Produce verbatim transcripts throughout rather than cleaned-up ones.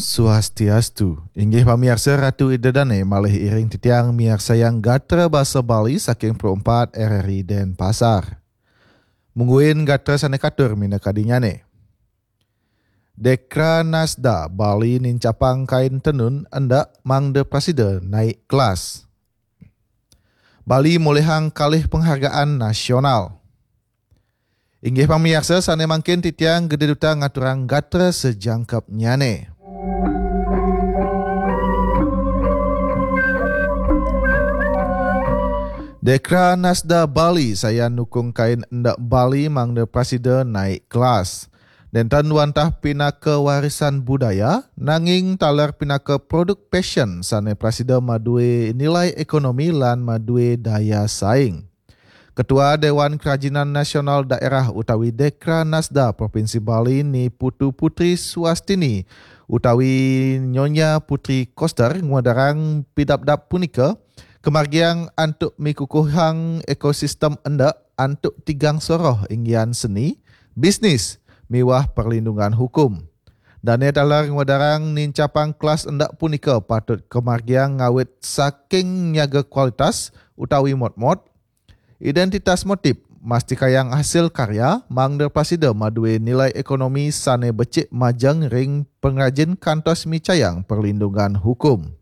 Swastiastu. Inggih pamiarsa Ratu Ida Dane malih iring titiang miarsayang gatra basa Bali saking Pro empat R R I Denpasar. Mungguin gatra sane katur minakadinyane. Dekra Nasda Bali nincapang kain tenun endak mangda prasida naik kelas. Bali molihang kalih penghargaan nasional. Inggih pamiarsa sane mangkin titiang Gede Duta ngaturang gatra sejangkepnyane. Dekra Nasda Bali sayan nukung kain endak Bali mangda prasida naik kelas. Nenten wantah pinaka warisan budaya, nanging taler pinaka produk passion sane prasida madue nilai ekonomi lan madue daya saing. Ketua Dewan Kerajinan Nasional Daerah utawi Dekra Nasda Provinsi Bali Ni Putu Putri Suastini utawi Nyonya Putri Koster ngwedarang pidabdab punika kamargiang antuk mikukuhang ekosistem endak antuk tigang soroh inggian seni, bisnis, miwah perlindungan hukum. Dane taler ngwedarang nincapang kelas endak punika patut kamargiang ngawit saking nyaga kualitas utawi motmot, identitas motif, mastikayang hasil karya, mangda prasida madue nilai ekonomi sane becik majeng ring pengrajin kantos micayang perlindungan hukum.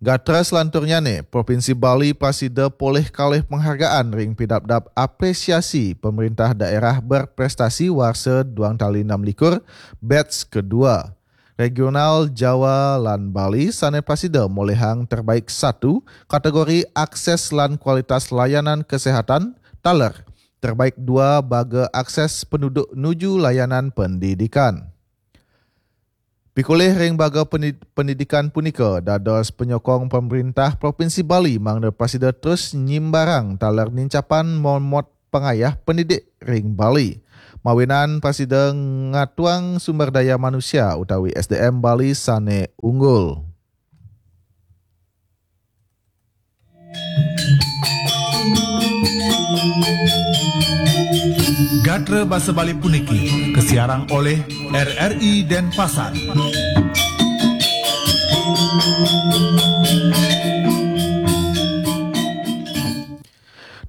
Gatra selanturnyane, Provinsi Bali prasida polih kalih penghargaan ring pidabdab apresiasi pemerintah daerah berprestasi warsa duang tali enam likur, batch kedua. Regional Jawa lan Bali sane prasida molihang terbaik satu kategori akses lan kualitas layanan kesehatan taler terbaik dua baga akses penduduk nuju layanan pendidikan. Pikolih ring baga pendi-, pendidikan punika dados penyokong pemerintah Provinsi Bali mangda prasida terus nyimbarang taler nincapan momot pangayah pendidik ring Bali. Mawinan prasida ngatuang sumber daya manusia utawi S D M Bali sane unggul. Gatra basa Bali puniki kasiarang oleh R R I Denpasar.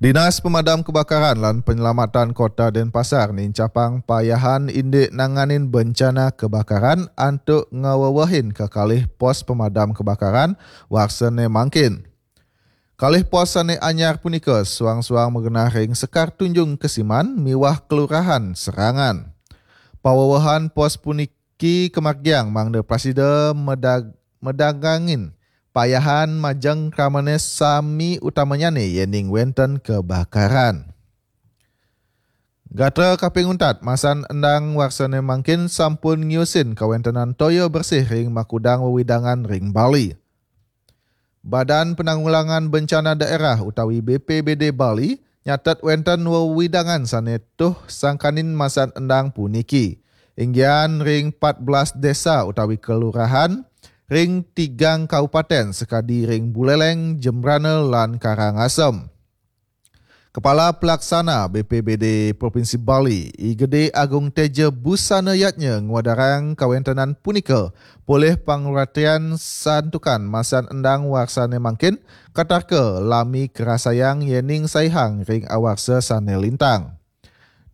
Dinas Pemadam Kebakaran lan Penyelamatan Kota Denpasar nincapang payahan indik nanganin bencana kebakaran antuk ngawewehin kekalih pos pemadam kebakaran warsane mangkin. Kalih pos sane anyar punika suang-suang magenah ring Sekar Tunjung Kesiman miwah Kelurahan Serangan. Pawewehan pos puniki kamargiang mangda prasida medag-, medagangin payahan majeng kramane sami utamanyane yening wenten kebakaran. Gatra kaping untat, masan endang warsane mangkin sampun ngiusin kawentenan toya bersih ring makudang wewidangan ring Bali. Badan Penanggulangan Bencana Daerah utawi B P B D Bali nyatet wenten wewidangan sane tuh sangkanin masan endang puniki. Inggian ring empat belas desa utawi kelurahan, ring tigang kabupaten sakadi ring Buleleng, Jembrana, lan Karangasem. Kepala Pelaksana B P B D Provinsi Bali, I Gede Agung Teja Busana Yatnya ngwedarang kawentenan punika polih pangratian santukan masan endang warsane mangkin, katarka lami karasayang yening saihang ring awarsa sane lintang.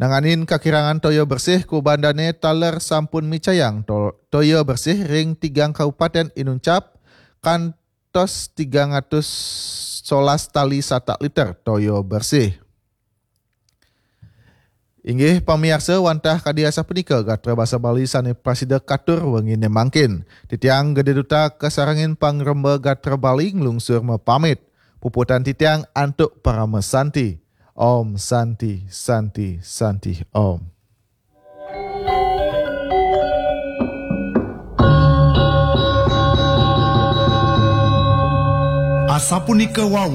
Nanganin kakirangan toya bersih, kubandane taler sampun micayang to-, toya bersih ring tigang kabupaten inuncap kan tos tigang atus solas tali satak liter toya bersih. Inggih pamiarsa, wantah kadi asapunika gatra basa Bali sane prasida katur wengine mangkin. Titiang Gede Duta kasarengin pangremba gatra Bali nglungsur mapamit. Puputan titiang antuk parama santi. Om Santi, Santi, Santi, Om. Asapunika wau,